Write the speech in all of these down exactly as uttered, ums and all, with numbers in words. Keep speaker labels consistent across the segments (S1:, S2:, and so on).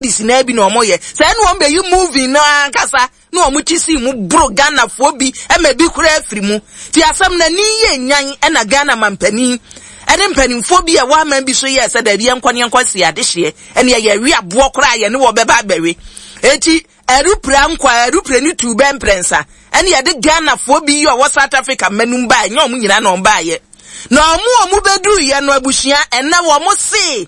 S1: Dis na bi na ɔmo yɛ sɛ ɛna wɔn bɛyi movie no ankasa na wɔn ti si mu boro Ghanafoɔ bi ɛma bi kura afiri mu. Ti asɛm na ni yɛ nyan, ɛna Ghana mampanin ɛne mpanimfoɔ bi a ɛwɔ aman bi so yɛ sɛ daabi, yɛnkɔ ne yɛnkɔ si adehyeɛ ɛne yɛyɛ wi aboɔ koraa yɛne wɔ bɛba abɛwe. Eti ɛrupra nkɔ a ɛrupra ne tu bɛ mprɛnsa, ɛne yɛde Ghanafoɔ bi yi a ɔwɔ South Africa mmanum baa. Ɛnyɛ ɔmo nyinaa na ɔmo baayɛ, na ɔmo a ɔmo bɛduru yɛ no, abusua, ɛnɛ wɔn se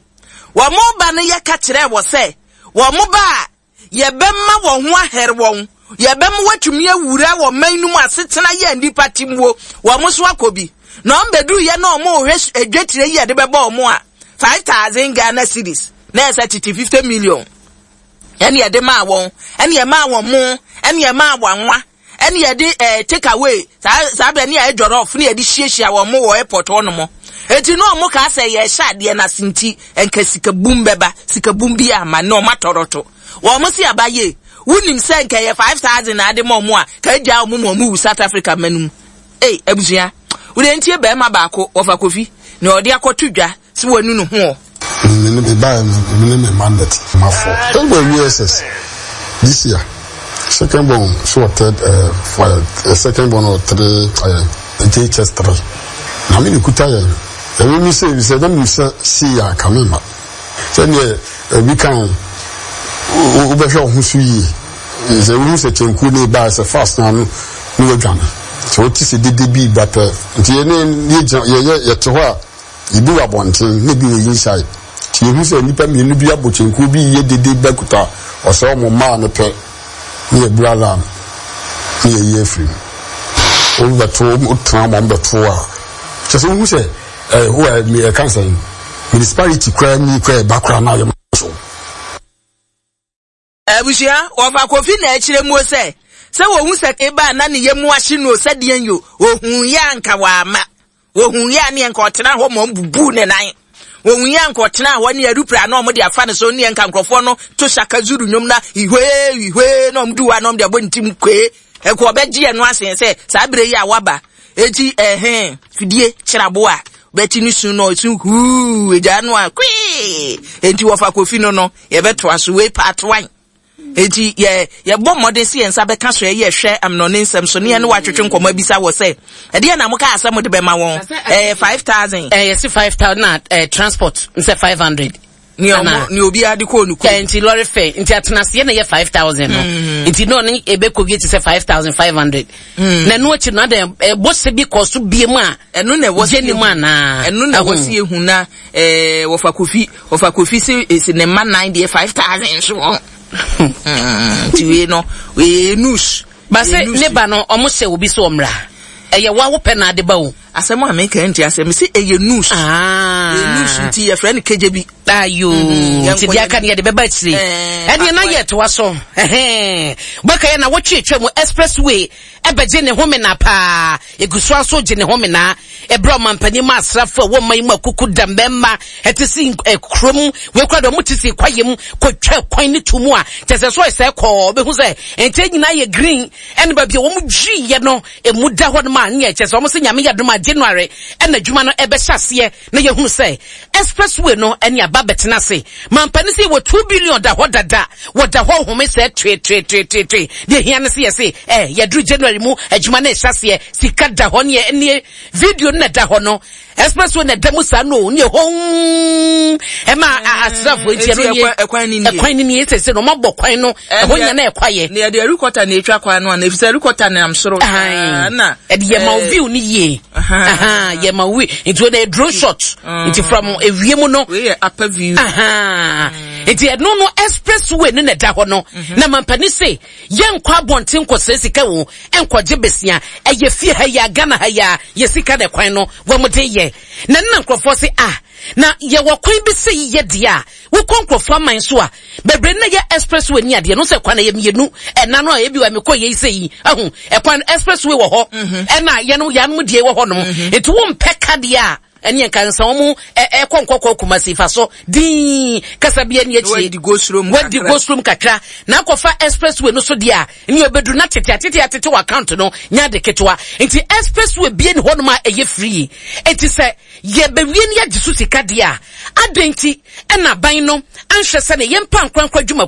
S1: wɔn ba no, yɛka kyerɛ wɔ sɛ wɔn ba a, yɛbɛma wɔn ho ahɛre wɔn, yɛbɛma wɔatumi awura wɔ man no mu asetena yɛ nipa timwo. Wɔn so akɔ bi na wɔn bɛduru yɛ na wɔn rehwɛ edwetire yi yɛde bɛbɔ wɔn a, five thousand Ghana cedis na ɛsɛ tete fifty million ɛne yɛde maa wɔn, ɛne yɛ maa wɔn mo, ɛne yɛ maa wɔn anwa, ɛne yɛde ɛɛ take away saa saa bɛ ne yɛ jollof ne yɛde hyiahyia wɔn mo wɔ airport hɔ nom. Eti na wɔn kaa sɛ yɛhyɛ adeɛ n'ase nti nka sika bum bɛba, sika bum bi ama na wɔn atɔrɔto wɔn si aba yie. Wunim sɛ nka yɛ five thousand na ade ma wɔn a, ka egya wɔn mu wɔn wu South Africa mmanum. Ee, abusua, wòle ntie bɛrima baako wɔfa Kofi na ɔde akɔto dwa si wɔn nu ne ho.
S2: Me ne me baa no, me ne me mandate ma fɔ ɛwɔ U S S this year. Second born so wɔ third, uh, for, uh, second born wɔ three, uh, J H S three na me ne kuta yɛn ɛmi mi sɛ sɛ na mi sɛ si yɛ aka mi ma sɛdeɛ ebi kan wobɛhwɛ wo ho so yie sɛ wohu sɛ kyɛnkuo ne ba sɛ fast na no ne wadwane sɛ wote sɛ dede bi ba pɛ. Nti yɛne yɛgyina, yɛyɛ yɛte hɔ a, ebi wɔ abɔnten na ebi wɔ inside, nti yɛhu sɛ nnipa mmienu bi abɔ kyɛnkuo bi yɛ dede ba kuta ɔsɛ ɔmo mmaa no pɛ ne yɛbu alarm ne yɛyi afiri mu. Wobɛto, wotena ma ɔmbɛto a, kyɛ sɛ wohu sɛ ɛɛ wo a ɛka sɛ municipality koraa ni koraa ɛba koraa na ayɛ so.
S1: Abusua, wɔfa Kofi na akyerɛ mu sɛ sɛ wɔhu sɛ eba na ne yɛ mu ahye no sɛdeɛ yo ohun yɛ anka wama ohun yɛ a ne nka ɔtena hɔ ma ɔmbubu ne nan, ohun yɛ anka ɔtena hɔ ne arupra na ɔmo de afa ne so ne nka nkurɔfoɔ no to Shaka Zulu nnwom na ihwee ihwee na ɔmo du hɔ a na ɔmo de abɔ ne tim kwee ɛkɔ ɔbɛgye ɛno asen sɛ saa bere yi a waba. Eti ɛhɛn fidie kyerɛbo a bɛkyi ne sun na ɔsun huu egya no a kwee. Eti wɔfa Kofi no no yɛbɛtoa so wei part one. Eti yɛ yɛbɔ mmɔden si yɛn nsa bɛka so, ɛyɛ hwɛ amnɔne nsɛm so ne yɛn ne watwetwe nkɔmɔ abisa wɔ sɛ ɛdeɛ na mo kaa sɛ mo de bɛma wɔn, ɛyɛ five thousand.
S3: Ɛyɛ si five thousand na ɛɛ transport nsɛ five hundred.
S1: Ni ɔmo ni obiara de kɔɔ ne kurom.
S3: Ɛ nti lorry fare nti atenaseɛ na yɛ five thousand no, nti na ɔne ebe kɔ wie ti sɛ five thousand five hundred na ɛno akyi no adan ɛbɔ sɛ bi kɔ so bie mu a.
S1: Ɛno na ɛwɔ
S3: gye ne mu anaa?
S1: Ɛno na ɛwɔ si ehu na ɛɛ wɔfa Kofi wɔfa Kofi si esi ne mma nan deɛ five thousand so wɔn nti wei no wei news.
S3: Base ne ba no, ɔmo hyɛ obi so ɔmra, ɛyɛ wa wopɛ na ade ba o.
S1: Asɛm a meka nti asɛm si ɛyɛ news. Ɛyɛ news nti yɛfrɛ no kegye bi.
S3: Ayo, nti deɛ aka no yɛde bɛba akyire. Ɛdeɛ na yɛ toa so bɛka yɛ na wɔtwe atwa mu expressway ɛbɛgye ne homena paa, egu so aso gye ne homena. Ɛbrɛ ɔmampanin mu asrafo a wɔn yi mu akuku da mbɛɛma ɛte si kurom wei kura deɛ ɔmo te si kwaeɛ mu kɔtwa kwan ne tu mu a kyɛ sɛ so ɛsɛ kɔɔ ɔbɛhu sɛ nkyɛn nyinaa yɛ green, ɛne baabi a wɔn dwiyɛ no emu da hɔ nom a ne yɛ kyɛ sɛ wɔn sɛ Nyame yɛ dom a, January ɛna adwuma no ɛbɛhyɛ aseɛ na yɛhunu sɛ expressway no ɛne aba bɛtena ase. Mampanin sɛ wɔ two billion da hɔ dada, wɔda hɔ home sɛ tweetweetweetwee. Deɛ hia no sɛ yɛse ɛ yɛduru January mu adwuma no ɛhyɛ aseɛ, sika da hɔ ne ɛne video no na ɛda hɔ no, expressway na ɛda mu saa no ne ɛhɔ ɛma asraafoɔ. Nti ɛno nie,
S1: ɛkwan ni nie.
S3: Ɛkwan ni nie sɛ sɛ no ɔmabɔ kwan no ɛhɔ nya na ɛkwa yɛ.
S1: Ne yɛde helicopter na etwa kwan no ana, efisɛ helicopter nam soro
S3: na ɛde yɛ ma view ni yie, yɛ ma view nti wɔde drone shot nti from ewie mu no.
S1: Wei yɛ upper view.
S3: Nti ɛno no expressway no na ɛda hɔ no na mampani se yɛnkɔ abɔnten nkɔsrɛ sika wo nkɔgye besia, ɛyɛ fie ha yi a, Ghana ha yi a, yɛ sika na ɛkwan no wɔn de yɛ. Na ne na nkurɔfoɔ se ah, na yɛwɔ kwan bi sɛ yiyɛ deɛ a wokɔ nkurɔfoɔ aman so a bebree na yɛ expressway ni adeɛ no sɛ kwan na yɛ mmienu ɛna no a ebi wɔ mekɔ yɛ yi sɛ yi ɛho ɛkwan expressway wɔ hɔ, ɛna yɛn yanom deɛ wɔ hɔ nom, nti wɔn mpɛ kadeɛ a Ɛne nka nsa wɔn ɛkɔ Nkɔkɔ Kumasi fa so dii kasa bi ani akyire.
S1: Wadi go slow mu
S3: Wadi go slow mu kakra. Na akɔfa expressway no so deɛ a, ne obɛduru na tete atete atete wɔ account no nya de ketewa. Nti expressway bie ne hɔnom a ɛyɛ free. Nti sɛ yɛbɛwie ne yɛgye so sika deɛ a, adɛn nti ɛna aban no anhwɛ sɛ ne yɛmpa nkorankora adwumakuo